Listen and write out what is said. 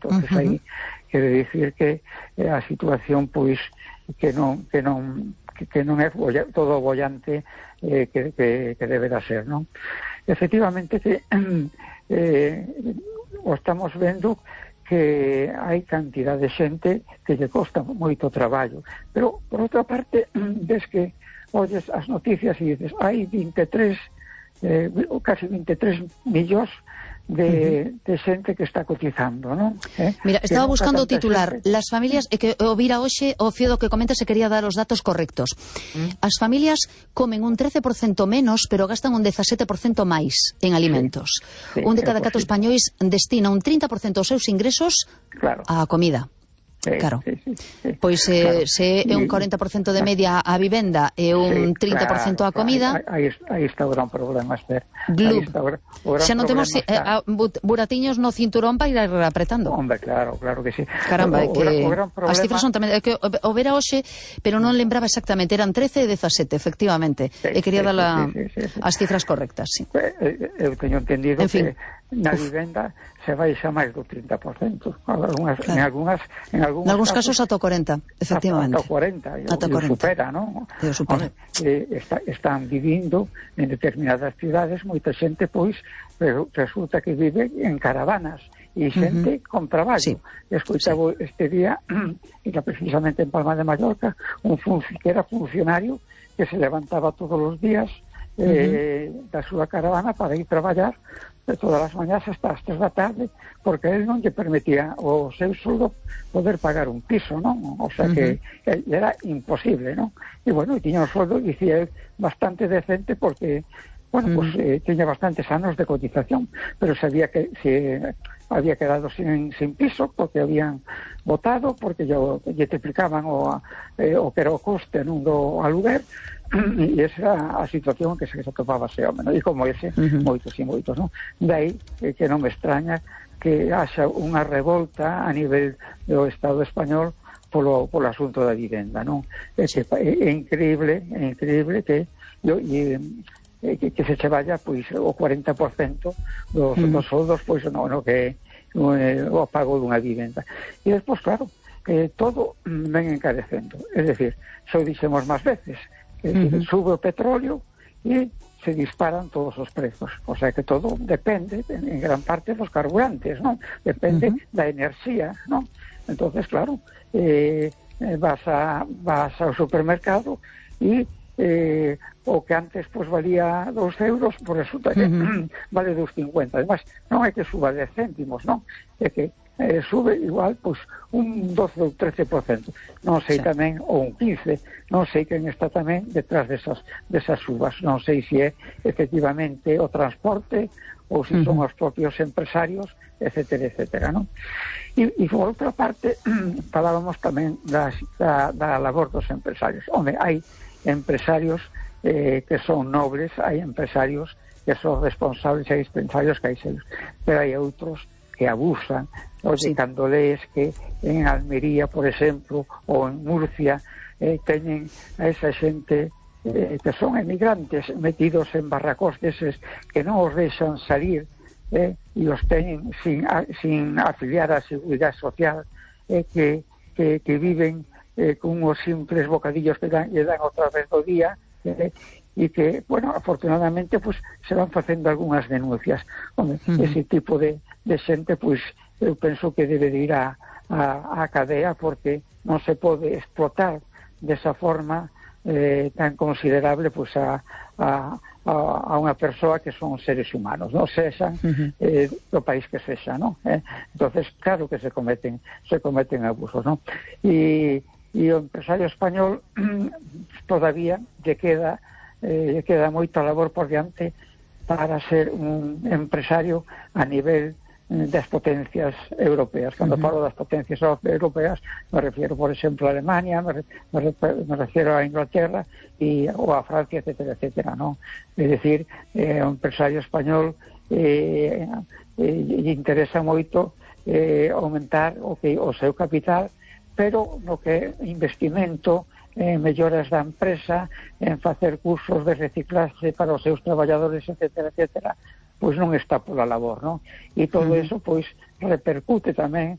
Entonces aí quero dicir que a situación pois que non é todo bollante que deberá ser, non? Efectivamente que o estamos vendo que hai cantidad de xente que lle costa moito traballo, pero por outra parte ves que oyes as noticias e dices hai 23 casi 23 millóns de xente que está cotizando, non? Mira, estaba buscando o titular. Las familias, que o vira hoxe, o fío do que comenta, se quería dar os datos correctos. As familias comen un 13% menos, pero gastan un 17% máis en alimentos. Un de cada 4 españois destina un 30% dos seus ingresos á comida. Claro. Pois se é un 40% de media a vivenda e un 30% a comida. Aí está o gran problema, Esther. Xa non temos buratiños no cinturón para ir apretando. Hombre, claro que sí. Caramba, é que as cifras son tamén, é que o vera hoxe, pero non lembraba exactamente, eran 13 e 17, efectivamente, e quería dar as cifras correctas, sí. Eu teño entendido que na vivenda se baixa máis do 30%. En algúns casos ata o 40%, efectivamente. Ata o 40%, e supera, non? Están vivindo en determinadas cidades, moita xente, pois, resulta que vive en caravanas, e xente con traballo. Escoitaba este día, era precisamente en Palma de Mallorca, que era funcionario, que se levantaba todos os días da súa caravana para ir traballar de todas as mañás hasta as 3 da tarde, porque él non lle permitía o seu soldo poder pagar un piso, non? O sea que era imposible, non? E bueno, tiña un soldo, dicía, bastante decente porque, bueno, pues tiña bastantes anos de cotización, pero sabía que se había quedado sin piso porque habían votado, porque lle triplicaban o que era o coste non do aluguer, e esa era a situación que se atopaba ese home, e como ese, moitos e moitos, non? Daí que non me extraña que haxa unha revolta a nivel do Estado español polo asunto da vivenda, non? É increíble que se che vaya pois o 40% dos soldos pois no que o pago dunha vivenda. E despois, claro, todo ven encarecendo. É dicir, xo dixemos máis veces, sube o petróleo e se disparan todos os prezos. O sea que todo depende, en gran parte, dos carburantes, non? Depende da enerxía, non? Entonces, claro, vas ao supermercado e o que antes pues valía 2 euros, pues resulta que vale 2,50. Además, non é que suba 10 céntimos, non? É que sube igual pues un 12 ou 13%, non sei tamén, ou un 15%, non sei quen está tamén detrás desas subas, non sei se é efectivamente o transporte ou se son os propios empresarios, etcétera, etcétera, non? E por outra parte, falábamos tamén da labor dos empresarios. Home, hai empresarios que son nobles, hai empresarios que son responsables, hai empresarios que hai serios, pero hai outros que abusan. Oye, cando lees que en Almería, por exemplo, ou en Murcia, teñen a esa xente que son emigrantes metidos en barracós deses que non os deixan salir, e os teñen sin afiliar a Seguridade Social, que viven con os simples bocadillos que lle dan outra vez do día, e que, bueno, afortunadamente pues se van facendo algunhas denuncias. Home, ese tipo de xente, pues eu penso que debe de ir a cadea, porque non se pode explotar desa forma tan considerable pues a unha persoa que son seres humanos, non sexan do país que sexa, non? Entonces, claro que se cometen abusos, non? E o empresario español todavía lle queda moita labor por diante para ser un empresario a nivel das potencias europeas. Cando falo das potencias europeas, me refiero, por exemplo, a Alemania, me refiero a Inglaterra ou a Francia, etcétera, etcétera, non? É dicir, o empresario español lle interesa moito aumentar o seu capital, pero no que investimento en melloras da empresa, en facer cursos de reciclaxe para os seus traballadores, etcétera, etcétera, pois non está pola labor, non? E todo eso, pois, repercute tamén